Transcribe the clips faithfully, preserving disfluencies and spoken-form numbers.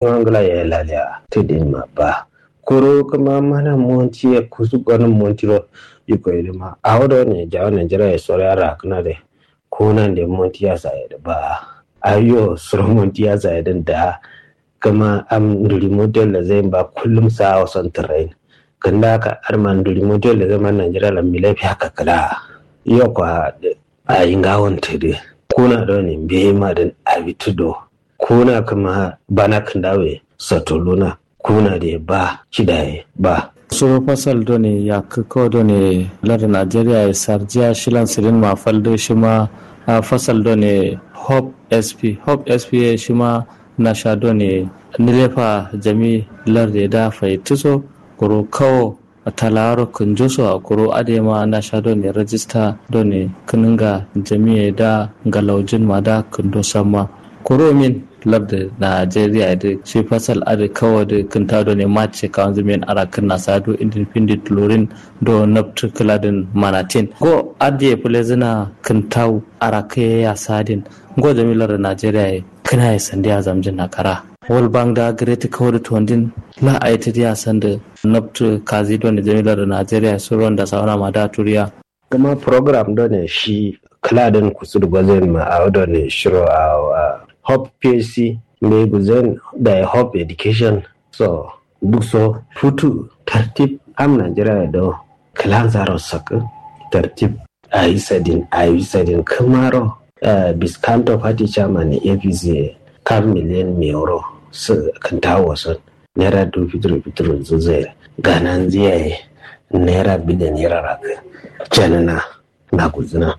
Ngla ye laliya tidin ma ba. Kuru kuma mana monti ye kusu gonin monti ro. Iko idima awo do ne jawo nigeria ye soriya rakna de. Kuna de monti ya sa ye ba. Ayo suro monti ya sa ye din da. Kuma am nduri monti ya la zai ba kullum sa awo son train. Kanda ka arma nduri monti ya la zai ma nigeria la milafi haka kala. Yo kwa ayi ngawon tidi. Kuna do ne mbe ma din abi tudo. Kuna kuma bana kǝndawe satuluna. Kuna de ba cidaye ba. Suro fasal done yakko done lar nigeria ye sarjiya shilan sidin ma faldo shima. Fasal done hope sp hope sp ye shima nasha done nilefa jami lar de da faituso. Kuro kawo talaro kǝnjoso a kuro adema nasha done rajista done kǝnǝnga jamiye da ngalaujin ma da kǝndo samma. Kuro min lardǝ nigeria dǝ shi fasal adǝ kawo dǝ kǝnta done mace kawanzǝ min arakǝn nasa do independent lorin do nabtǝ kǝladǝn manatin go adǝ ye fǝlezǝna kǝntau arakǝ ye ya sadin. Ngo jami lardǝ nigeria ye kǝna ye sandiya zamjin na kara. World bank da gǝretǝ kawo dǝ tondin la aitǝ diya sandǝ nabtǝ kazi done jami lardǝ nigeria ye suron da sauna ma da turiya. Kuma program done shi kǝladǝn kusudǝ gozin ma awo done shiro a hope psc mbe guzin da hope education. So duk so futu tartib am nigeria do kǝlan zaro sakǝ tartib. Ayi sadin ayi sadin kǝmaro. Biskanto fati chairman apc kam miliyan miyoro sǝ kǝntawo son naira du fituru fituru zuzai gananziya ye naira biliyan yara rakǝ. Canana na gulzǝna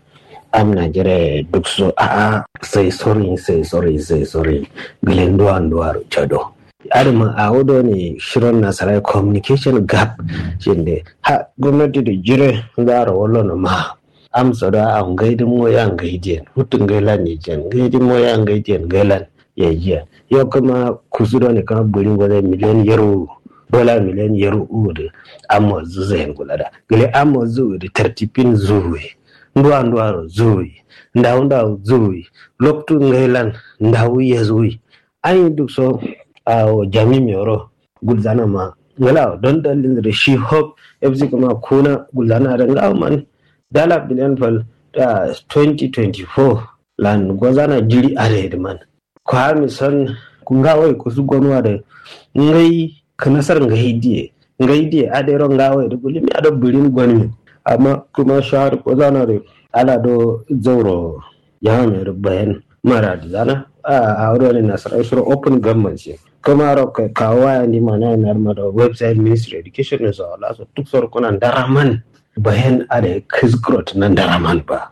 am nigeria ye duk so a'a sai sorin sai sorin sai sorin gǝlen duwan duwaro cado. Adǝma awo done shiron nasarai communication gap. Shinde ha gomnati dǝ jire zaro wallono ma. Amso da a ngai dǝ moya ngai diyen hutu ngai lan yijiyen ngai dǝ moya ngai diyen ngai lan. Yajiyen yo kuma kusu done kuma buri ngozai miliyan yaru dola miliyan yaru uwu dǝ. Amma zuzayen gulada gǝle amma zuwu dǝ tartibin zuwuye. Nduwa nduwaro zuwuye. Ndawu ndawu zuwuye. Loktu ngai lan ndawu ye zuwuye. Ayi duk so awo jami miyoro gulzana ma ngla don dalil da shi hope fc kuma kuna gulzana da ngawo man dala biliyan fal. Twenty twenty four lan gozana jiri are da man. Kwa mi son ngawo kusu gonwa da ngai kanasar ngai diye ngai diye adero ngawo da gulimi ado birin gonmi. Amma kuma shahar gozana da ala do zauro. Yame dǝ bayan maradi zana a wuri wani nasarai shiro open government shi. Kamaro kawo waya ni mana na ma do website ministry education ne so la so duk sor kuna ndaraman bayan ada kizgrot na ndaraman ba.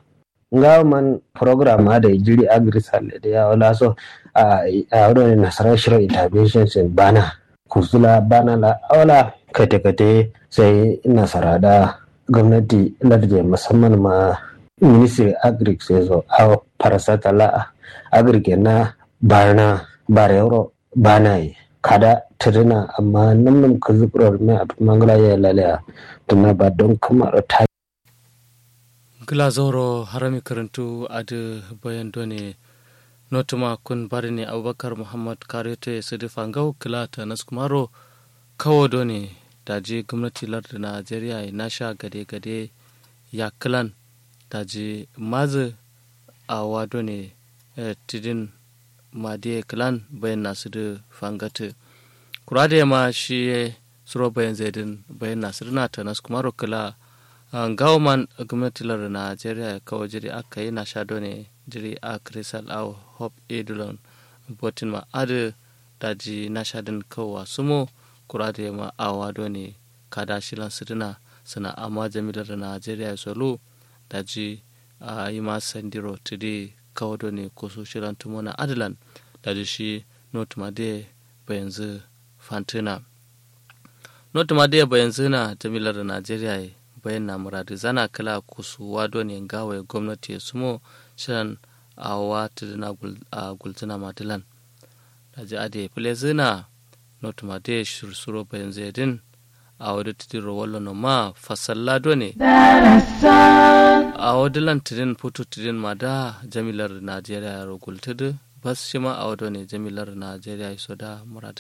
Ngawo man program ada jiri agri salle da yawo la so a wuri wani nasarai shiro intervention sin bana kusula bana la awo la kate kate sai nasara da gomnati lardiye musamman ma ministry agric sai so awo farasata la agric ye na barna barewuro bana ye kada tǝdǝna amma nǝm nǝm kǝzǝ kuro rume a fǝtǝ mangǝla ye laleya. Tǝna ba don kǝmaro ta. Ngla zauro harami kǝrǝntu adǝ bayan done notuma kun badǝne abubakar muhammad kareto ye sǝdǝ fangau kǝla tanas kumaro kawo done daji gomnati lardǝ nigeria ye nasha gade gade yakkǝlan daji mazǝ awowa done tidin madiye kǝlan bayin nasudǝ fangatǝ. Kura dǝ yema shiye suro bayin zaidǝn bayin nasudǝna tanas kumaro kǝla. Ngawo man gomnati lardǝ nigeria ye kawo jiri akkai nasha done jiri akrisal awo hope edulon botin ma adǝ daji nasha dǝn kawowa sumo. Kura dǝ yema awowa done kada shilan sǝdǝna sǝna amma jami lardǝ nigeria ye solu daji ayima sandiro tǝdǝ kawo done kusu shilan tǝmona adǝlan daji shi notuma dǝye bayanzǝ fantǝna. Notuma dǝye bayanzǝna jami lardǝ nigeria ye bayanna muradǝ zana kǝla kusuwa done ngawo ye gomnati ye sumo shilan awowa tǝdǝna gulzǝna ma dǝlan. Daji adǝ ye fǝlezǝna notuma dǝ ye shir suro bayanzǝ ye dǝn. Awo dǝ tǝdiro wallono ma fasalla done awo dǝlan tǝdin futu tǝdin ma da jami lardǝ nigeria yero gultǝdǝ. Bas shima awo done jami lardǝ najeriya ye so da muradu.